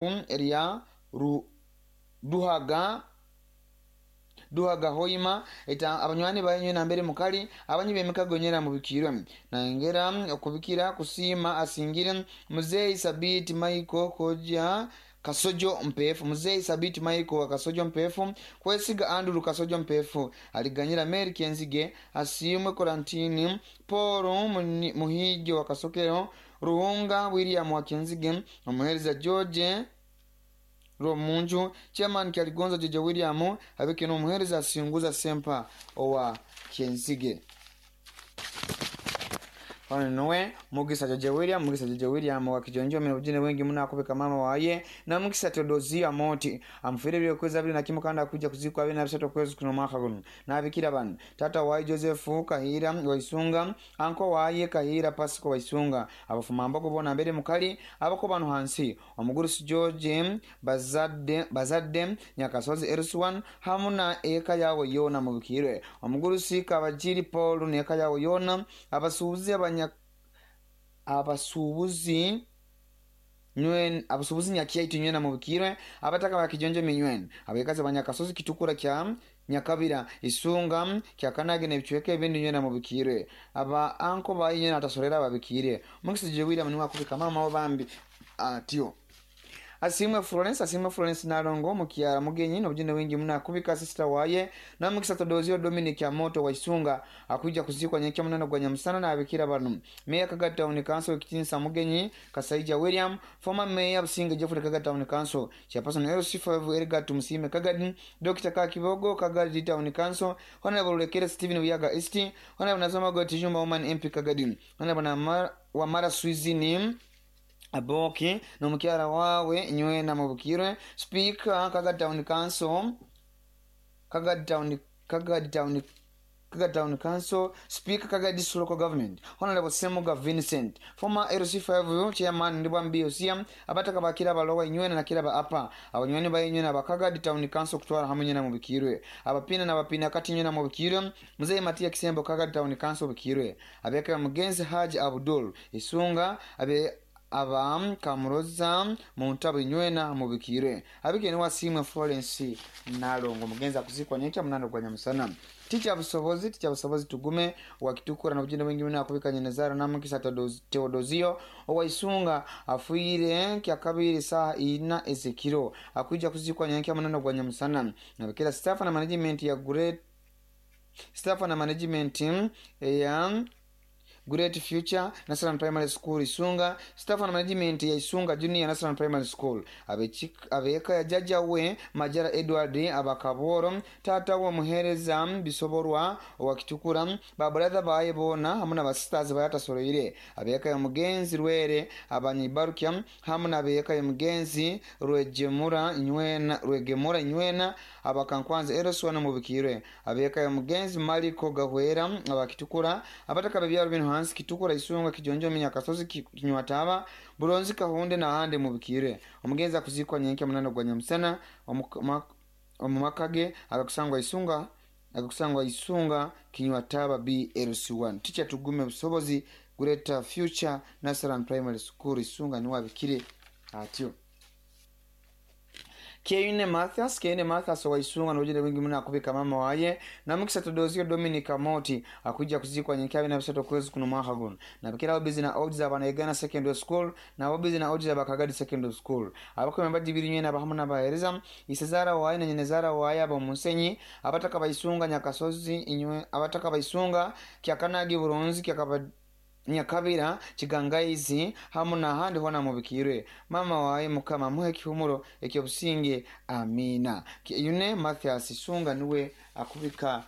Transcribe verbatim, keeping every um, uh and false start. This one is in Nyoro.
Erya Ruhaga Duhaga Hoima eta abanywani baye nambere mukali abanyi b'emikago nyera mubikirwe nangera okubikira kusiima asingire Muzeyi Sabiti Michael Koja Kasojo Mpefu, Muzeyi Sabiti Michael wa Kasojo Mpefu, Kwesiga Andrew Kasojo Mpefu, aliganyira Mary Kenzige, Asiimwe Korantini Paul Muhige wa Kasokero, Ruhunga William wa Kenzige, omuhereza George Romunju, Chairman Kyaligonza Jeje William, abeke n'omuhereza Asinguza Sempa owa Kenzige. Ono nuwe Mugisa Jeje William, Mugisa Jeje William wa Kijonjo mena bujine wengi muna akubika mama waye na Mugisa Teodozia Moti amufire bile kweza bile na kimu kanda kuja kuzikwa bile na bisatu kwezi kuno mwaka guno nabikira bano tata waye Joseph Kahira Waisunga, anko waye Kahira Pasco Waisunga, abafuma mbogo bona mbere mukali abako bano hansi omugurusi George Bazadde Bazadde Nyakasozi Eruswan hamuna eka yawe yona mubikirwe omugurusi Kabajiri Paul neka yawe yona abasuubuzi abanya abasuubuzi nywen abasuubuzi nyakyaitu nywena mubikirwe abataka ba Kijonjo minywen abekazi banyakasozi Kitukura kya Nyakabira Isunga kya Kanage n'ebicweka ebindi nywena mubikirwe aba anko bayi nywena atasorera ababikire Mugisa Jeje William niwe akubika mama wo bambi atyo. Asimwe Florence, Asimwe Florence Nalongo mukyala mugenyi n'obujune wingi muna akubika sister waye na Mugisa Todozio Dominic Amoto wa Isunga akuja kuzikwa nyekya munana gwa Nyamusana na abikira bano Mayor Kaga Town Council Kitinsa Mugenyi Kasaija William, former Mayor Businge Geoffrey Kaga Town Council Chairperson L C five Edgar Tumusime Kagadi, Doctor Kakibogo Kagadi Town Council, Honorable Lekere Stephen Wiyaga East, Honorable Nazoma Gotijumba Woman M P Kagadi, Honorable Wamara Swizini Aboki n'omukyala wawe nywena mubukirwe Speaker Kaga Town Council Kaga Town Kaga Town Kaga Town Council Speaker Kaga District Local Government Honorable Semuga Vincent, former L C five Chairman Ndibwambi Osia, abataka bakira balowa inywena na kiraba apa abanywani baye nywena abakaga Town Council kutwara hamwe nywena mubikirwe abapina na bapina kati nywena mubikirwe Mzee Matia Kisembo Kaga Town Council bikirwe abeka Mugenzi Haji Abdul Isunga abe aba Kamuroza muntabu nywena mubikirwe abike ni Wasimwe Florence Nalongo mugenza kuzikwa nyekya munano gwa Nyamusana. Ticha busobozi ticha busobozi tugume wakitukura na bujine wengi muna akubika nyenezara na Mugisa Teodozio Owaisunga afuire kya kabiri saa ina ezekiro akuja kuzikwa nyekya munano gwa Nyamusana nabikira staff na management ya Great staff na management ya Great Future National Primary School Isunga, staff na management ya Isunga Junior National Primary School, abeka ya jaja we Majara Edward abakaboro tata wa muhereza bisoborwa wa Kitukura babrother baye bona hamwe na sisters bayatasoroire abeka ya mugenzi Rwere abanyibarukya hamwe na abeka ya mugenzi Rwegemura nywena Rwegemura nywena abakankwanza Eroswana mubikirwe abeka ya mugenzi Maliko Gahwera abakitukura abataka bebyaro bino hansi Kitukura Isunga Kijonjo Minyakasozi Kinywataba Buronzi Kahunde na hande mubikire omugenzi akuzikwa nyenke munano gwa Nyamusana omumakage agakusangwa Isunga agakusangwa Isunga Kinywataba B L C one. Ticha tugume busobozi Greater Future National Primary School Isunga ni wabikire atyo. Keine Mathias, Keine Mathias wa Isunga na ujile wingi muna akubika mama waye na Mugisa Todozio Dominic Amoti akuja kuzikwa nyekyabi na bisato kwezi kuno mwaka guno na bikira obizi na odds abana Uganda Secondary School na obizi na odds abakagadi Secondary School abakome mbadibiri nyena abahamu na bahereza Isezara waye na Nyenezara waye abo Musenyi abataka baisunga Nyakasozi inywe abataka baisunga Kyakanagi Buronzi Kyakaba Nyakabira Kigangaizi hamu na handi hona mubikirwe mama waye mukama muhe kihumuro ekyobusinge amina. Yune Mathias Isunga niwe akubika